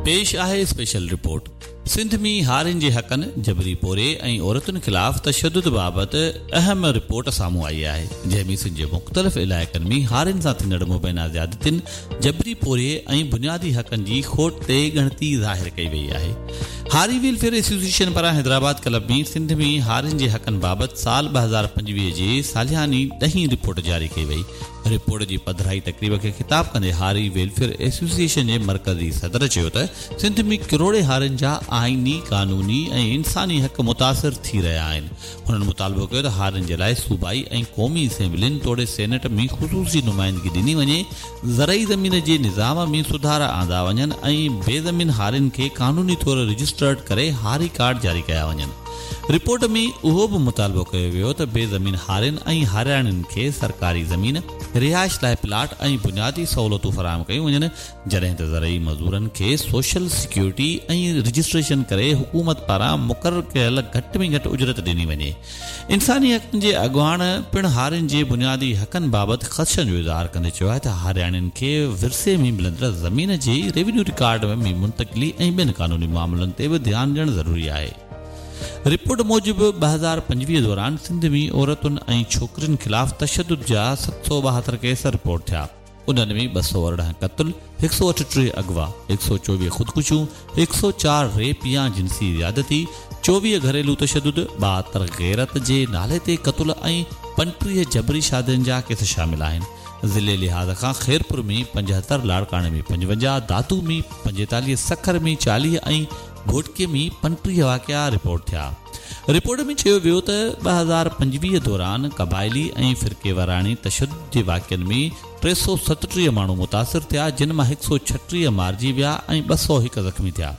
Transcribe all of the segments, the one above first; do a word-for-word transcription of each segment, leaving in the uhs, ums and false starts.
پيش آهي special report. Sindh ۾ هارين جي حقن، جبري پورهيي ۽ عورتن خلاف تشدد بابت اهم رپورٽ سامهون آئي آهي، جنهن ۾ سنڌ جي مختلف علائقن ۾ هارين سان ٿيندڙ مبينا زيادتين، جبري پورهيي ۽ بنيادي حقن جي کوٽ تي ڳڻتي ظاهر ڪئي وئي آهي. هاري ويلفيئر ايسوسيئيشن پاران حيدرآباد ڪلب ۾ سنڌ ۾ هارين جي حقن بابت سال ٻه هزار پنجويهه جي سالياني ڏهين رپورٽ جاري ڪئي وئي. رپورٽ جي پڌرائي تقريب کي خطاب ڪندي هاري ويلفيئر ايسوسيئيشن جي مرڪزي صدر چيو ته سنڌ ۾ ڪروڙين هارين جا آئيني، قانوني ۽ انساني حق متاثر ٿي رهيا آهن. هنن مطالبو ڪيو ته هارين جي لاءِ صوبائي ۽ قومي اسيمبلين توڙي سينيٽ ۾ خصوصي نمائندگي ڏني وڃي، زرعي زمين جي نظام ۾ سڌارا آندا وڃن ۽ بي زمين هارين کي قانوني طور رجسٽرڊ ڪري هاري ڪارڊ جاري ڪيا وڃن. رپورٽ ۾ اهو به مطالبو ڪيو ويو ته بي زمين هارين ۽ هارياڻين کي سرڪاري زمين، رهائش لاءِ پلاٽ ۽ بنيادي سهولتون فراهم ڪيون وڃن، جڏهن ته زرعي مزدورن کي سوشل سيڪيورٽي ۽ رجسٽريشن ڪري حڪومت پاران مقرر ڪيل گهٽ ۾ گهٽ اجرت ڏني وڃي. انساني حقن جي اڳواڻ پڻ هارين جي بنيادي حقن بابت خدشن جو اظهار ڪندي چيو آهي ته هارياڻين کي ورثي ۾ ملندڙ زمين جي ريونيو رڪارڊ ۾ منتقلي ۽ ٻين قانوني معاملن تي به ڌيان ڏيڻ ضروري آهي. رپورٽ موجب ٻه هزار پنجويهه دوران سنڌ ۾ عورتن ۽ ڇوڪرين خلاف تشدد جا ست سؤ ٻاهتر ڪيس رپورٽ ٿيا. انهن ۾ ٻه سؤ ارڙهن قتل، هڪ سؤ اٺٽيهه اغوا، هڪ سؤ چوويهه خودڪشيون، هڪ سؤ چار ريپ يا جنسي زيادتي، چوويهه گهريلو تشدد، ٻاهتر غيرت جي نالي تي قتل ۽ پنٽيهه جبري شادين جا ڪيس شامل آهن. ضلعي لحاظ کان خيرپور ۾ پنجهتر، لاڙڪاڻي ۾ پنجونجاهه، دادو ۾ پنجيتاليهه، سکر ۾ چاليهه ۽ گهوٽڪي ۾ پنٽيهه واقعا رپورٽ ٿيا. رپورٽ ۾ چيو ويو ته ٻه هزار پنجويهه دوران قبائلي ۽ فرقيواراڻي تشدد جي واقعن ۾ ٽي سؤ ستٽيهه ماڻهو متاثر ٿيا، جن مان هڪ سؤ ڇٽيهه مارجي ويا ۽ ٻه سؤ هڪ زخمي ٿيا.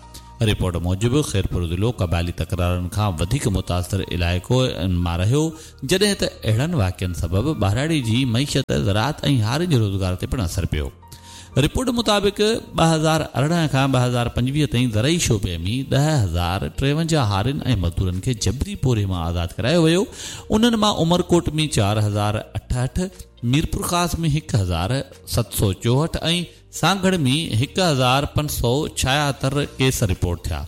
رپورٽ موجب خيرپور ضلعو قبائلي تڪرارن کان وڌيڪ متاثر علائقو مان رهيو، جڏهن ته اهڙن واقعن سبب ٻهراڙي جي معيشت، زراعت ۽ هارين جي روزگار تي پڻ اثر پيو. رپورٽ مطابق ٻه هزار ارڙهن کان ٻه هزار پنجويهه تائين زرعي شعبي ۾ ڏهه هزار ٽيونجاهه هارين ۽ مزدورن کي جبري پورهيي مان آزاد ڪرايو ويو. انهن مان عمرڪوٽ ۾ چار هزار اٺهٺ، ميرپورخاص ۾ هڪ هزار ست سؤ چوهٺ ۽ سانگهڙ ۾ هڪ هزار پنج سؤ ڇاهتر ڪيس رپورٽ ٿيا.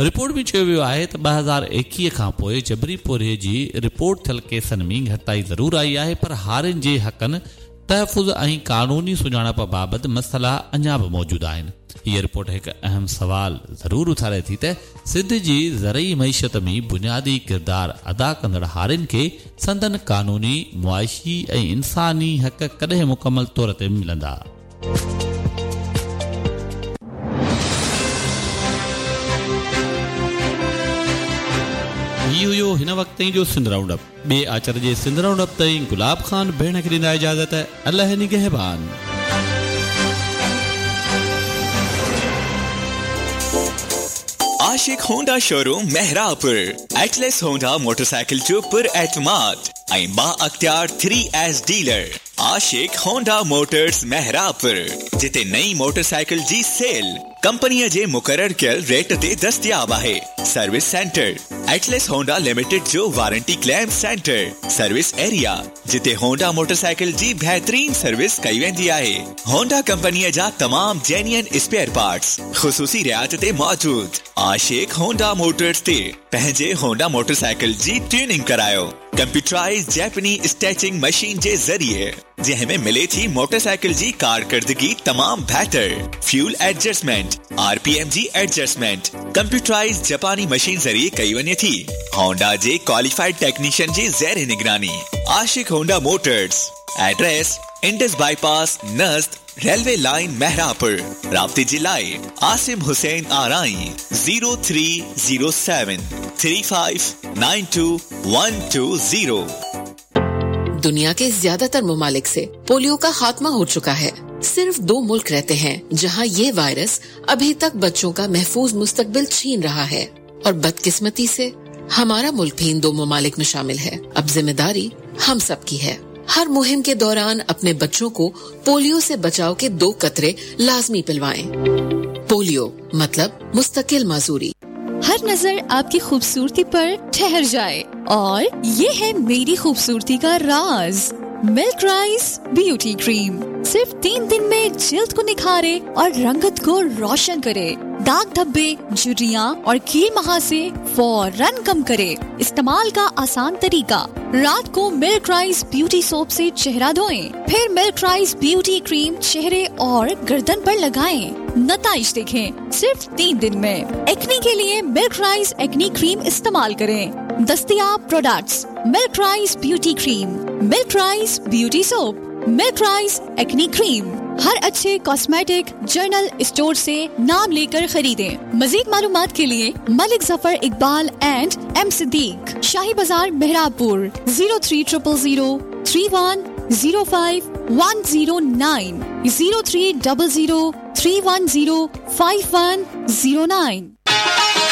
رپورٽ ۾ چيو ويو آهي ته ٻه هزار ايڪويهه کان پوءِ جبري پورهيي جي رپورٽ ٿيل ڪيسن ۾ گهٽتائي ضرور آئي آهي، پر هارين جي حقن، تحفظ ۽ قانوني سڃاڻپ بابت مسئلا اڃا به موجود آهن. هيءَ رپورٽ هڪ اهم سوال ضرور اٿاري ٿي ته سنڌ جي زرعي معيشت ۾ بنيادي ڪردار ادا ڪندڙ هارين کي سندن قانوني، معاشي ۽ انساني حق ڪڏهن مڪمل طور تي ملندا. هي هيو هن وقت تائين جو سنڌ رائونڊ اپ. ٻئي آچر جي سنڌ رائونڊ اپ تائين گلاب خان ڀيڻ کي ڏيندا اجازت. الله نگهبان. Ashiq Honda showroom Mehrabpur, Atlas Honda motorcycle جو پر اعتماد ۽ با اختيار three S dealer. Ashiq Honda Motors Mehrabpur, جتي نئين موٽرسائيڪل جي سيل ڪمپنيءَ جي مقرر ڪيل ريٽ تي دستياب آهي. Service centre, Atlas Honda limited جو warranty claim centre, service area, جتي هونڊا موٽرسائيڪل جي بهترين سروس ڪئي ويندي آهي. هونڊا ڪمپنيءَ جا تمام جينيئن اسپيئر پارٽس خصوصي رعايت تي موجود. عاشق هونڊا موٽرس تي پنهنجي هونڊا موٽرسائيڪل جي ٽيوننگ ڪرايو ڪمپيوٽرائز جاپاني اسٽيچنگ مشين جي ذريعي، جنهن ۾ ملي ٿي موٽرسائيڪل جي ڪارڪردگي تمام بهتر، fuel adjustment, R P M جي ايڊجسٽمينٽ ڪمپيوٽرائز جاپاني مشين ذريعي ڪئي وڃي ٿي. هونڊا جي ڪواليفائيڊ ٽيڪنيشن جي زير نگراني. Ashiq Honda Motors, address Indus bypass نزد ريلوي لائين مهراپور. رابطي جي لاءِ Asim Hussain Arain zero three zero seven three five nine two one two zero. दुनिया के ज्यादातर ममालिक से पोलियो का खात्मा हो चुका है। सिर्फ दो मुल्क रहते हैं जहां ये वायरस अभी तक बच्चों का महफूज मुस्तकबिल छीन रहा है और बदकिस्मती से हमारा मुल्क भी इन दो ममालिक में शामिल है। अब जिम्मेदारी हम सब की है। हर मुहिम के दौरान अपने बच्चों को पोलियो से बचाव के दो कतरे लाजमी पिलवाएं। पोलियो मतलब मुस्तकिल माजूरी। हर नजर आपकी खूबसूरती पर ठहर जाए और ये है मेरी खूबसूरती का राज, मिल्क राइस ब्यूटी क्रीम। सिर्फ तीन दिन में जिल्द को निखारे और रंगत को रोशन करे। दाग धब्बे, झुर्रियाँ और कील महासे फौरन कम करे। इस्तेमाल का आसान तरीका, रात को मिल्क राइस ब्यूटी सोप से चेहरा धोएं, फिर मिल्क राइस ब्यूटी क्रीम चेहरे और गर्दन पर लगाएं। नताइज देखें सिर्फ तीन दिन में। एक्ने के लिए मिल्क राइस एक्ने क्रीम इस्तेमाल करें। दस्तियाब products milk rice beauty cream, milk rice beauty soap, milk rice acne cream. हर अच्छे कॉस्मेटिक जर्नल स्टोर से नाम लेकर खरीदें। मजीद मालूमात के लिए Malik Zafar Iqbal and M Siddique, Shahi Bazaar Mehrabpur, zero three triple zero three one zero five one zero nine, zero three double zero three one zero five one zero nine.